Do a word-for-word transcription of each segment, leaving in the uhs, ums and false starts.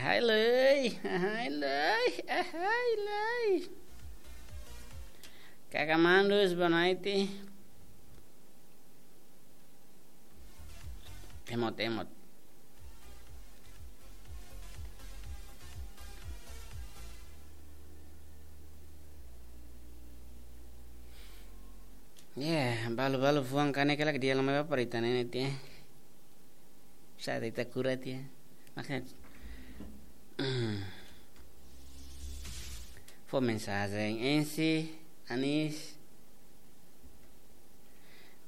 Hai lei, hai lei, hai lei. Kaka Mandus, boa noite. Temot, temot. Yeah, balu-balu fuan kanek lagi dia lama apa ita ne'e tiha. Sa ita kura tiha. Maksudnya, fó mensajen ensi, Anis.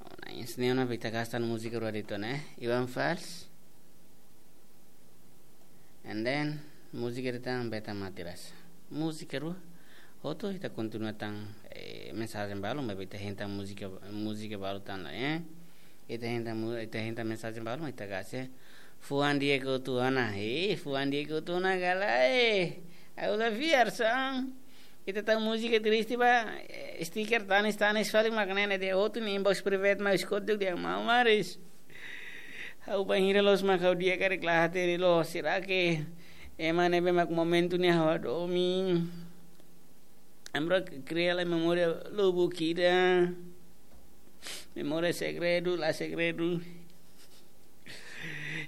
Oh, na ensi ne'e ona ita gasta múzika rua de'it ona, eh. Iwan Fals. And then, múzika ida tan beta mati rasa. Múzika rua, hotu ita kontinua tan, eh, mensajen balu, maibé ita hein tan múzika, múzika balu tan la, eh. Ita hein tan mu-, ita hein tan mensajen balu, ita gasta. Fuan di'ak hotu ona, eh, fuan di'ak hotu ona gala, eh. Aula viar sang. Ita tau múzika triste ba, eh, stiker tanis-tanis fali mak ne'e ne'e de'it hotu nia inbox private mai skot duk dia mau maris. Ha'u bainhira loos mak ha'u di'ak karik la hatene loos, será que ema ne'ebé mak momentu ne'e ha'u hadomi. Ami rua kria lai memória lubuk ida. Memória segredu, la segredu.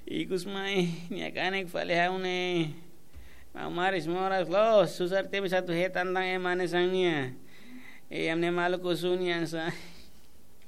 Ikus mai, nia kanek fali ha'u ne'e. Mau maris moras loos, susar tebes atu hetan tan ema ne'e sang nia. E, ami-nia maluk husu nia sa.